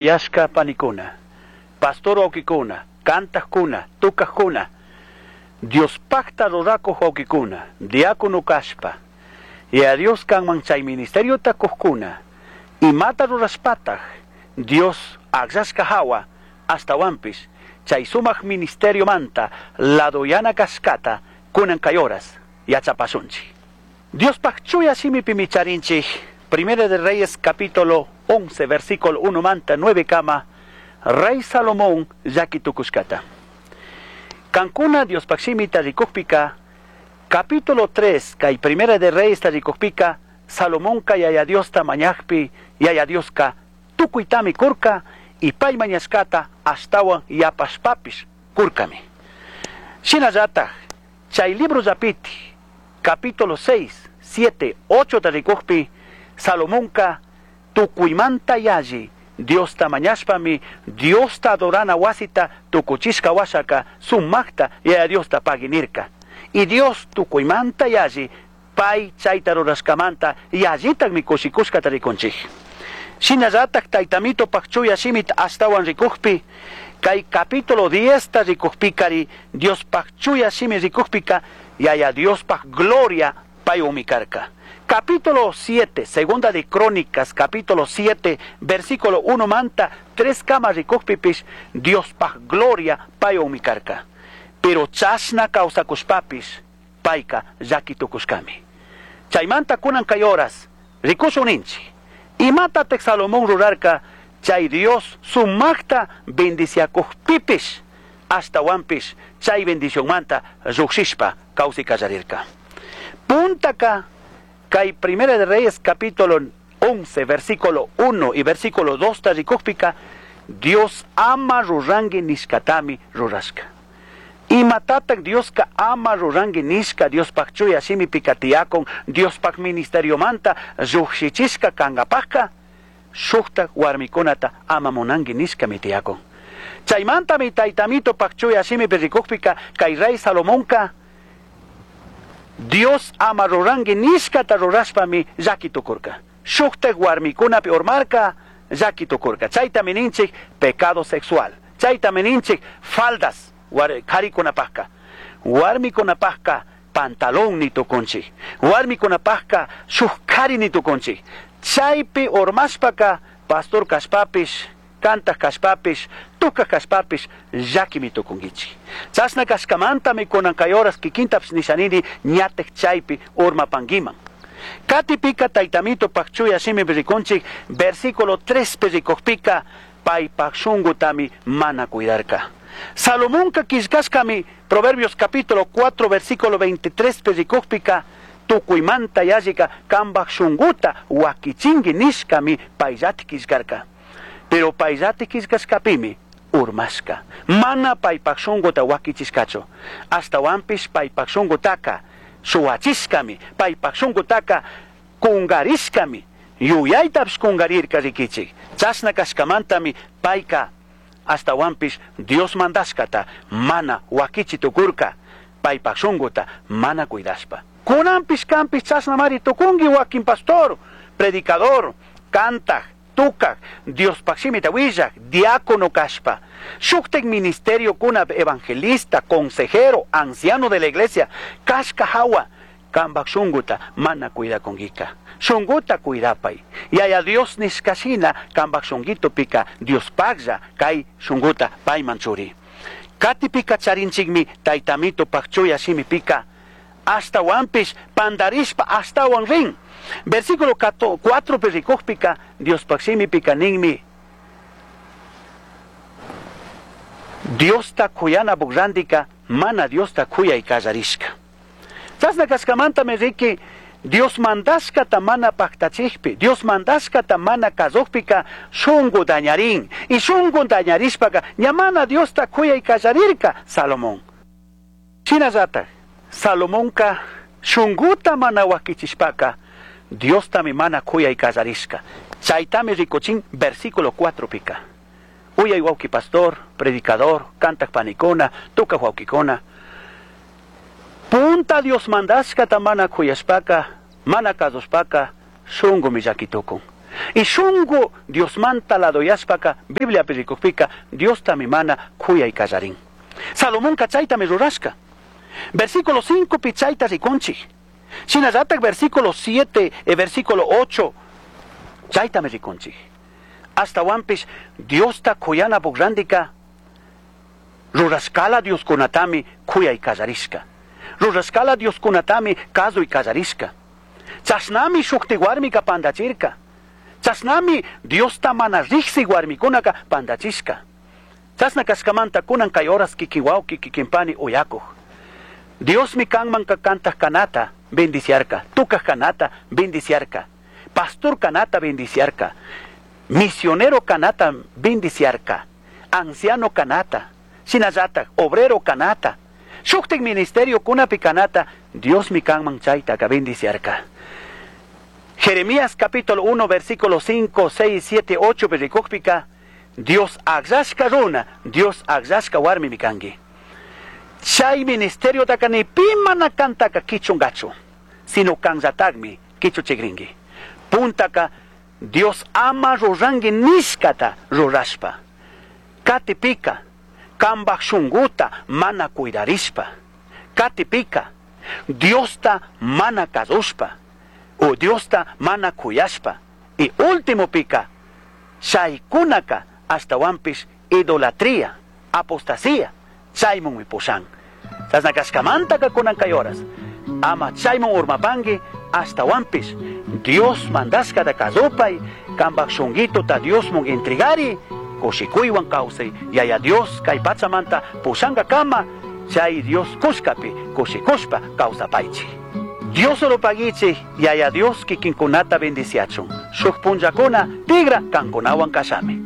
Yashka panikuna, pastor wawkikuna, kantakuna, tukakuna, Diospakta rurakuq wawkikuna, diácono kashpa, Yaya Dios kanman chay ministeriota kuqkuna, imata rurashpataj Dios akllashka hawa ashtawanpish chay sumak ministeriomanta ladoyana kashkata kunan kay horas yachapashunchik. Diospaj chuya shimipimi charinchik Primera de Reyes capítulo 11 versículo 1 manta 9 kama Rey Salomón llaki tukushkata. Kankuna Diospaj shimita rikukpika capítulo 3 kay Primera de Reyes rikukpika Salomonka Yaya Diosta mañakpi Yaya Dioska tukuytami kurka y pay mañashkata ashtawan yapashpapish kurkami. Shinallataj chay libro llapiti capítulo 6, 7, 8 rikukpi Salomonka tukuymanta yalli Diosta mañashpami Diosta adorana wasita tukuchishka washaka sumakta Yaya Diosta pagui nirka. Y Dios tukuymanta yalli pay chayta rurashkamanta yallitakmi kushikushkata rikunchik. Shinallatak taytamito chuya shimita ashtawan rikukpi kay capítulo 10 ta rikukpikari Diospaj chuya shimi rikukpika Yaya Diospaj gloria paywanmi karka. Capítulo 7, segunda de Crónicas, capítulo 7, versículo 1 manta, 3 kama rikukpipish, Diospaj gloria paywanmi karka. Pero chashna kawsakushpapish, payka llaki tukushkami. Chaymanta kunan kay horas, rikushun ninchik. Imatataj Salomón rurarka, chay Dios sumakta bendiciakukpipish, ashtawanpish chay bendicionmanta llukshishpa kawsay kallarirka. Puntaka kay Primera de Reyes capítulo 11 versículo 1 y versículo 2 ta rikukpika Dios ama rurangi nishkatami rurashka. Imatatak Dioska ama rurangi nishka Diospaj chuya shimipika tiyakun Diospaj ministeriomanta llukshichishka kankapajka shuktak warmikunata ama munangi nishkami tiyakun. Chaymantami taytamitopaj chuya shimipi rikukpika kay rey Salomonka Dios ama rurangi nishkata rurashpami llaki tukurka. Shuktak warmikunapi urmarka llaki tukurka. Chaytami ninchik pecado sexual. Chaytami ninchik faldas karikunapajka. Warmikunapajka pantalón ni tukunchik. Warmikunapajka shuk kari ni tukunchik. Chaypi urmashpaka pastor kashpapish, kantak kashpapish, tukak kashpapish llakimi tukunkichik. Chashna kashkamantami kunan kay horas kikintapish nishanini ñatek chaypi urmapankiman. Katipika taytamito chuya shimipi rikunchik versículo 3 pi rikukpika paypak shunkutami mana cuidarka. Salomonka killkashkami Proverbios capítulo 4 versículo 23 pi rikukpika tukuymanta yallika kanpak shunkuta wakichinki nishkami payllati killkarka. Pero payllati killkashkapimi urmashka. Mana paypak shunkuta wakichishkachu. Ashtawanpish paypak shunkutaka shuwachishkami, paypak shunkutaka kungarishkami, yuyaytapish kungarirka rikichik. Chashna kashkamantami payka ashtawanpish Dios mandashkata mana wakichi tukurka, paypak shunkuta mana cuidashpa. Kunanpish kanpish chashnamari tukunki wakin pastor, predicador, kantak, tukak, Diospaj shimita willak, diácono kashpa, shuktak ministerio kuna evangelista, consejero, anciano de la iglesia, kashka hawa, kanpak shunkuta mana cuidakunkika. Shunkuta cuidapay. Yaya Dios nishkashina kanpak shunkitupika Diospaklla kay shunkuta payman churi. Katipika charinchikmi taytamitopaj chuya shimipika ashtawanpish pandarishpa ashtawan rin. Versículo 4 pi rikukpika Diospaj shimipika ninmi Diosta kuyanapuk randika mana Diosta kuyay kallarishka. Chashna kashkamantami riki Dios mandashkata mana paktachikpi, Dios mandashkata mana kasukpika shunku dañarin. Y shunku dañarishpaka ña mana Diosta kuyay kallarirka Salomón. Shinallatak Salomonka shunkuta mana wakichishpaka Diostami mana kuyay kallarishka. Chaytami rikuchin versículo 4 pika. Uyay wawki pastor, predicador, kantak panikuna, tukak wawkikuna. Punta Dios mandashkata mana kuyashpaka, mana kasushpaka, shunkumi llaki tukun. Y shungu Diosmanta ladoyashpaka Bibliapi rikukpika Diostami mana kuyay kallarin. Salomonka chaytami rurashka. Versículo 5 pi chayta rikunchik. Shinallatak versículo 7 y versículo 8 chaytami rikunchik. Ashtawanpish Diosta kuyanapak randika rurashkala Dioskunatami kuyay kallarishka. Rurashkala Dioskunatami kazuy kallarishka. Chashnami shukti warmika pandachirka. Chashnami Diosta mana riksi warmikunaka pandachishka. Chashna kashkamanta kunan kay horas kikin wawki kikin pani uyakuj. Diosmi kanman kantaj kanata bendiciarka, tukaj kanata bendiciarka, pastor kanata bendiciarka, misionero kanata bendiciarka, anciano kanata, shinallatak obrero kanata, shuktik ministerio kunapi kanata, Diosmi kanman chaytaka bendiciarka. Jeremías capítulo 1 versículo 5, 6, 7, 8 rikukpika, Dios akllashka runa, Dios akllashka warmimi kanki. Chay ministerio ni pi mana kantaka kichungachu, sino kanllatakmi kichuchikrinki. Puntaka Dios ama ruranki nishkata rurashpa. Katipika kambaj shunguta mana cuidarishpa. Katipika Diosta mana kazushpa. O Diosta mana kuyashpa. Y último pika, chaykunaka ashtawanpish idolatría, apostasía, chaymunmi pushan. Chashna kashkamantaka kunan kay horas. Ama chaymun urmapanki ashtawanpish Dios mandashkata kasupay, kambaj shunguituta Diosmun entregari, kushikuywan kawsay, Yaya Dios kay pachamanta pushankakama, chay Dios kushkapi kushikushpa kawsapaychik. Dios oropaguichik, Yaya Dios kikinkunata bendiciachun. Shuk punllakuna tigra kankunawan kashami.